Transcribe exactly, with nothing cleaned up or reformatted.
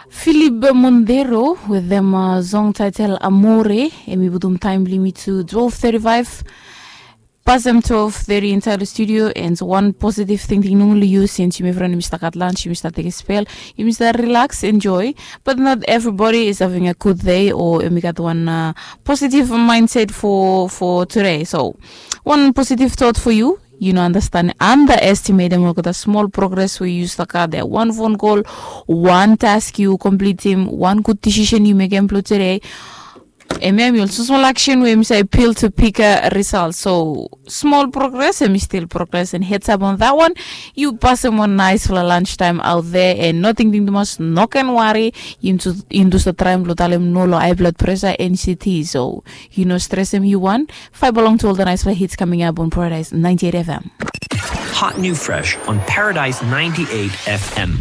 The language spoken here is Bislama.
Philip Montero with them uh, song title Amore. Em i putum taim blong yumi to twelve thirty-five. Pasem twelve thirty inside the studio and one positive thing thing nongli use since yumi friend yumi start lunch yumi start take a spell yumi start relax enjoy. But not everybody is having a good day or yumi got one uh, positive mindset for for today. So one positive thought for you. You know, understand underestimate them look at a small progress we use the car there one phone call, one task you complete him, one good decision you make him today. Em em yul susmal action we misai pil to pick a result. So small progress em still progress and heads up on that one. You pass him one nice for a lunch time out there and nothing thing too much no can worry. Into into the time lo talem no lo high blood pressure N C T. So you know stress him you one. Five belong to all the nice for hits coming up on Paradise ninety-eight F M. Hot new fresh on Paradise ninety-eight F M.